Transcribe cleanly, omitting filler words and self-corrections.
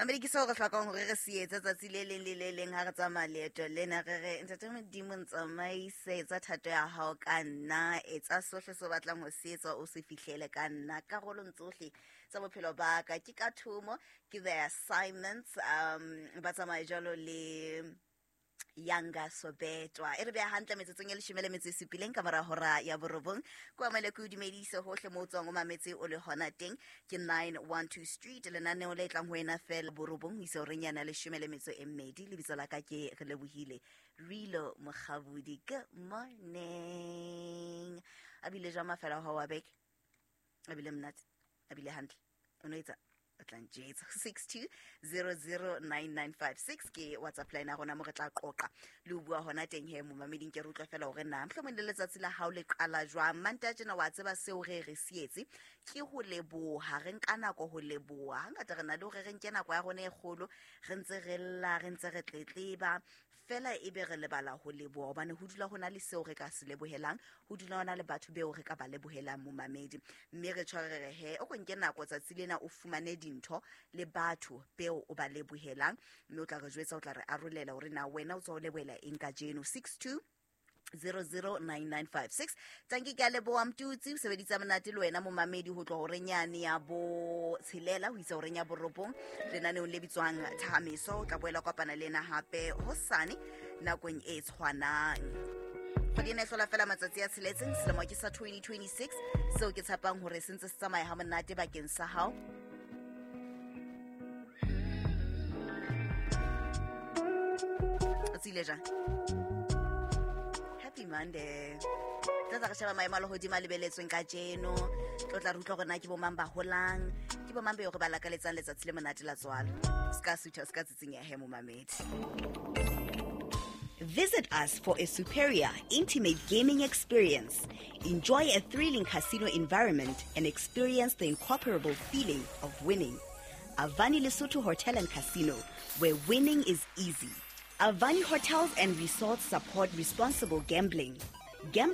Mamedi, ke seo re hlokang hore re se etse tsatsi le leng le le leng ha re tsamaya leeto lena. Re re, Ntate Modimo, ntsamaise, etsa thato ya hao ka nna, etsa sohle se o batlang ho se etsa, o se fihlele ka nna karolong tsohle tsa bophelo ba ka. Ke ka thomo, ke the assignments. Ba tsamaye jwalo le Yanga Sobetwa. E re beha hantle metsotsong e 17 ka mora hora ya 9. Ko amele ke o dumedise hohle mo o tswang o mametse o le hona teng. Ke 912 Street, lenaneo le tlang ho wena fela 9 ho isa horeng yana 12. Lebitso la ka ke Re Lebohile Rilo Mokgabudi. Good morning. A bile jwang mafelo a hao wa beke? A bile monate, a bile hantle. O no etsa o tla ntjetsa 62009956 ke WhatsApp line ya rona mo re tla qoqa le ho bua hona teng. He momameding, ke re utlwa fela hore na mohlomong le letsatsi la hao le qala jwang Manta tjena. Wa tseba seo re re sietse ke ho leboha, re nka nako ho leboha. Hangata re na le hore re nke nako ya rona e kgolo re ntse re lla, re ntse re tletleba fela, ebe re lebala ho leboha, hobane ho dula ho na le seo re ka se lebohelang, ho dula ho na le batho beo re ka ba lebohelang, momamedi. Mme re tshware re he o ko nke nako tsatsi lena, o fumane dintho le batho beo o ba lebohelang, mme o tla re jwetsa, o tla re arolela hore na wena o tswa o lebohela eng kajeno. 62 009956. Tanki, ke a leboha Mtutsi, o sebeditsa monate le wena momamedi ho tloha horeng yane ya 6 ho isa horeng ya 9 lenaneong le bitswang Thahamiso. O tla boela kopana le ena hape hosane nakong e tshwanang. Kgwedi ena e hlola fela matsatsi a 6, selemo ke sa 2026, seo ke tshepang hore se ntse se tsamaya ha monate bakeng sa hao. O tsile jang? Happy Monday. Tla tla re sheba maemo a lehodimo a lebeletsweng kajeno. Tlo tla re utlwa hore na ke bomang ba holang, ke bomang beo re ba lakaletsang letsatsi le monate la tswalo. Se ka sutha, se ka tsitsinyehe, momamedi. Visit us for a superior, intimate gaming experience. Enjoy a thrilling casino environment and experience the incomparable feeling of winning. Avani Lesotho Hotel and Casino, where winning is easy. Avani Hotels and Resorts support responsible gambling. Gambling